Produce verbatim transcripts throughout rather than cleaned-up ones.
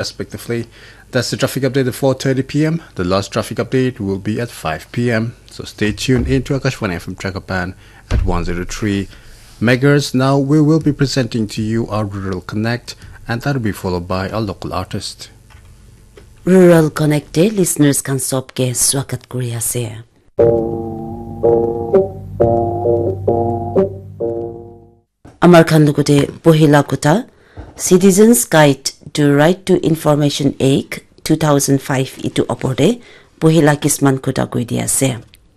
respectively. That's the traffic update at four thirty p m. The last traffic update will be at five p m. So stay tuned in to Akashvani F M Chakapan at one zero three megahertz. Now we will be presenting to you our Rural Connect, and that'll be followed by our local artist. Rural Connect te listeners khan sob ke swagat kuri ase. Amar khan logote pohila kotha, Citizens Guide to Right to Information Act two thousand five itu opor te pohila kisman kotha koi di ase.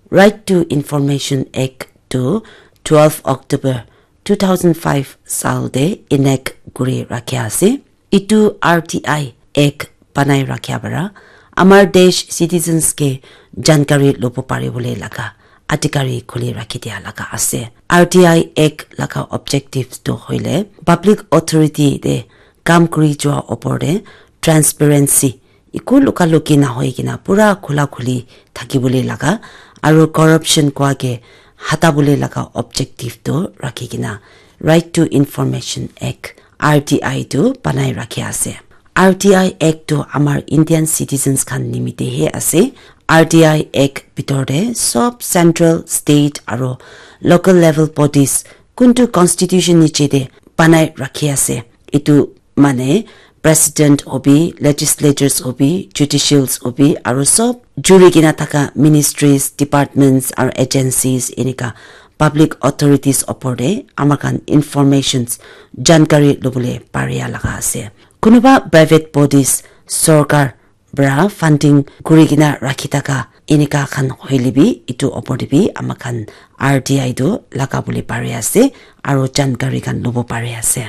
Right to Information Act tu twelve October two thousand five sal te enact kuri rakhia ase. Itu R T I Act banai rakhia para amar desh citizens ke jankari lobo pari bole laga adhikari khuli rakhi dia laga ase. R T I Act laga objectives tu hoile public authority te kam kuri jua opor te transparency, iku luka luki na hoi kena pura khula khuli thaki bole laga aru corruption kwa ke hata bole laga objective tu rakhi kena Right to Information Act, R T I tu banai rakhi ase. R T I Act tu amar Indian citizens khan nimite he ase. R T I Act bitor te sob central, state aru local level bodies kuntu constitution niche te banai rakhi ase. Itu mane president hobi, legislatures hobi, judicials hobi aru sob juri kena thaka ministries, departments aru agencies enika public authorities opor te amar khan informations, jankari lobole paria laga ase. Kunuba private bodies, sorkar para funding kuri kena rakhi thaka enika khan hoile bi itu opor te bi amar khan R T I tu laga bole pari ase aru jankari khan lobo pari ase.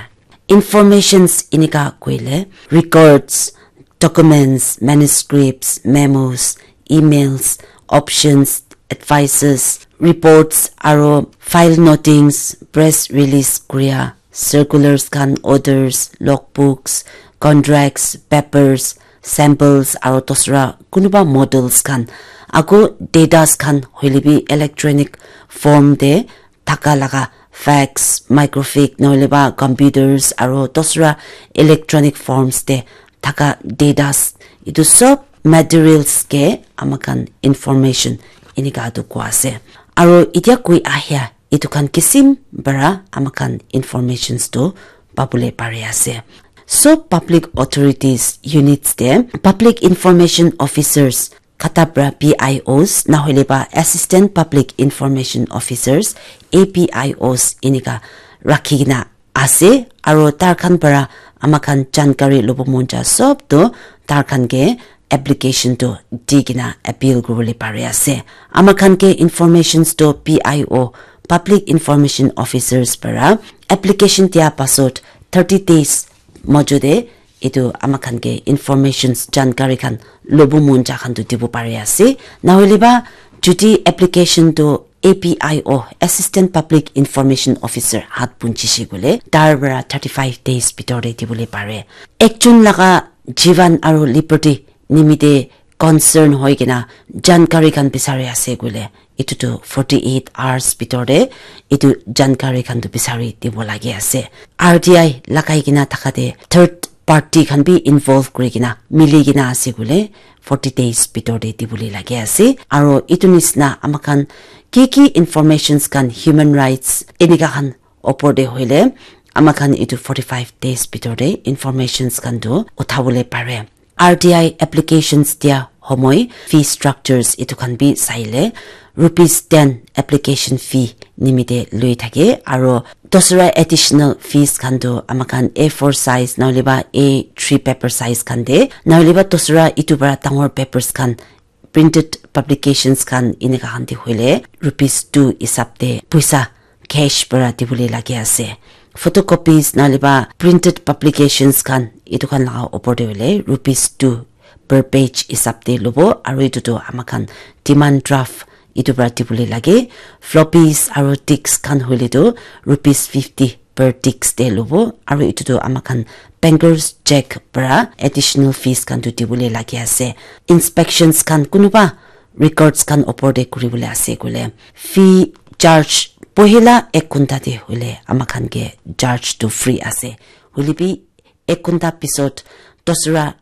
Informations enika koile records, documents, manuscripts, memos, emails, options, advices, reports aru file notings, press release kuria, circulars khan, orders, logbooks, contracts, papers, samples aru dosra kunuba models khan, aku datas khan hoile bi electronic form te thaka laga fax, microfiche nohole ba computers aru dosra electronic forms te thaka datas, itu sob materials ke amar khan information enika tu koi ase. Aru itya koi ahia itu khan kisim para amar khan informations tu pabole pari ase. Sob public authorities units te public information officers kata para P I Os, nahole ba Assistant Public Information Officers, A P I Os, enika rakhi kena ase, aru tar khan para amar khan jankari lobo mon ja sob tu tar khan ke application tu di kena appeal kuribole pari ase. Amar khan ke informations tu P I O, Public Information Officers para application dia pasot thirty days mojo te etu amar khan ke informations, jankari khan lobo mon ja khan tu dibo pari ase. Nahole ba jodi application tu A P I O, Assistant Public Information Officer, hat punchi shi koile tar para thirty five days bitor te dibole pare. Ekjon laga jivan aru liberty nimite concern hoi kena jankari khan bisari ase koile etu tu forty eight hours bitor te etu jankari khan tu bisari dibo lage ase. R T I lagai kena thaka te third party khan bi involve kuri kena mili kena ase koile forty days bitor te dibole lage ase. Aru etu nisna amar khan ki ki informations khan, human rights enika khan opor te hoile amar khan etu forty five days bitor te informations khan tu uthabole pare. R T I applications dia homoi fee structures etu khan bi saile rupees ten application fee nimite lui thake, aru dosra additional fees khan tu amar khan A four size nahole ba A three paper size khan te, nahole ba dosra etu para dangor papers khan, printed publications khan enika khan te hoile rupees two hisab te poisa cash para dibole lage ase. Photocopies nahole ba printed publications khan etu khan laga opor te hoile rupees two per page hisab te lobo, aru etu tu amar khan demand draft etu para dibole lage. Floppies aru disks khan hoile tu rupees fifty per disks te lobo, aru etu tu amar khan banker's check para additional fees khan tu dibole lage ase. Inspections khan kunuba records khan opor te kuribole ase koile fee charge pohila ek ghonta te hoile amar khan ke charge tu free ase, hoile bi ek ghonta pisot dusra